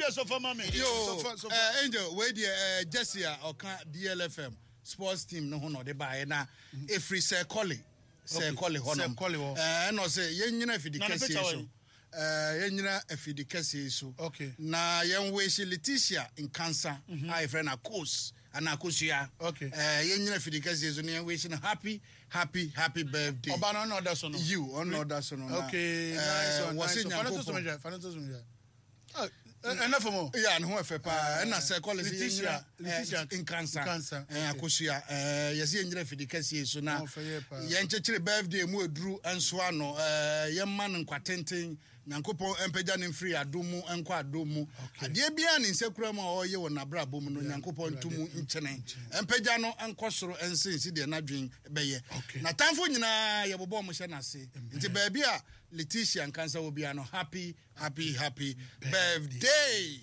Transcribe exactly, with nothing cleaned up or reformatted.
Obi a sɔfa ma me. Yo, Sɔfa, sɔfa. eh, Angel, wei deɛ eh, Jesse a ɔka D L F M sports team no ho na ɔde baeɛ na ɛfiri sɛ kɔle sɛ kɔle hɔ nom. Sɛ Kɔle hɔ. Eh, ɛna ɔsɛ yɛnyina afidi Na ne kɛseɛ picture so wɔ yi? Eh, yɛnyina afidi kɛseɛ so Okay. na yɛnwehye Letitia Nkansa a yɛfrɛ no Akos anaa Akosua. Okay. Eh, yɛnyina afidi kɛseɛ so na yɛnwehye no happy, happy, happy birthday. Ɔba no ɔna ɔda so no. Yiw, ɔno ɔda so no na, Okay, eh, nice one. wɔse Nice one. Fa no to so Nyankopɔn mehwɛ, fa no to so mehwɛ. Ah, ɛnɛ fam o. Ya, ne ho ɛfɛ paa. Ɛna sɛ kɔle sɛ Letitia, yɛnyina Letitia Nkansa. Nkansa, eh, okay. Akosua, eh, yɛsɛ yɛnyina afidi kɛseɛ so na Ɔfɛ yɛ paa. yɛnkyekyere birthday mu aduru nso ano, eh, yɛmma no nkwatenten, Nyankopɔn mpagya ne mfiri adom mu nkɔ adom mu. Okay. Adeɛ biara ne nsa kura mu a ɔreyɛ wɔ n'abrabɔ mu no, Nyankopɔn nto mu nkyene, mpagya no nkɔ soro nsensi deɛ n'adwen bɛyɛ. Okay. N'atamfo nyinaa yɛbobɔ ɔmo hyɛ n'ase. Nti baabi a Letitia Nkansa wɔ biara no, happy, happy, happy birthday.